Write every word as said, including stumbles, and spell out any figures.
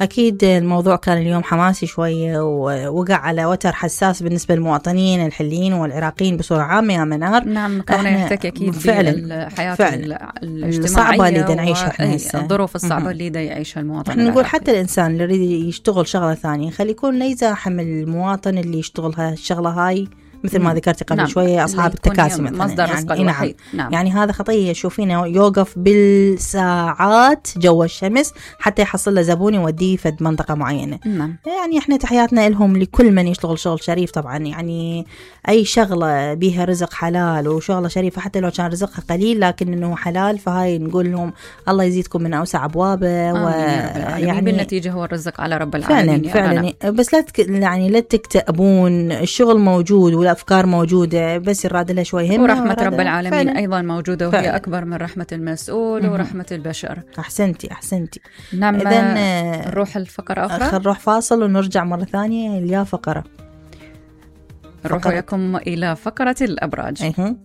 أكيد الموضوع كان اليوم حماسي شوية ووقع على وتر حساس بالنسبة للمواطنين الحليين والعراقيين بصورة عامة يا منار. نعم كونه يحتكي أكيد بالحياة الاجتماعية الصعبة اللي دا نعيشها احنا هسه، الظروف الصعبة اللي دا يعيشها المواطن. احنا نقول حتى الإنسان اللي يريد يشتغل شغلة ثانية خلي يكون لا يزاحم المواطن اللي يشتغل هالشغلة هاي، مثل ما ذكرتي قبل نعم. شوية أصحاب التكاسي مثلا، مصدر يعني رزق الوحيد. نعم. يعني هذا خطية، شوفينه يوقف بالساعات جو الشمس حتى يحصل له زبون يوديه في منطقة معينة. نعم. يعني احنا تحياتنا لهم لكل من يشتغل شغل شريف طبعا، يعني أي شغلة بيها رزق حلال وشغلة شريفة حتى لو كان رزقها قليل لكن إنه حلال، فهاي نقول لهم الله يزيدكم من أوسع أبوابه. ويعني بالنتيجة هو الرزق على رب العالمين فعلا فعلا. بس لا تك... يعني لا تكتئبون، الشغل موجود والأفكار موجودة، بس يراد لها شوي همة ورحمة رب العالمين فعلا. أيضا موجودة وهي فعلا. أكبر من رحمة المسؤول م-م. ورحمة البشر. أحسنتي أحسنتي. نعم. إذن نروح الفقرة أخرى، نروح فاصل ونرجع مرة ثانية إلى فقرة نروح وياكم إلى فقرة الأبراج. أيه.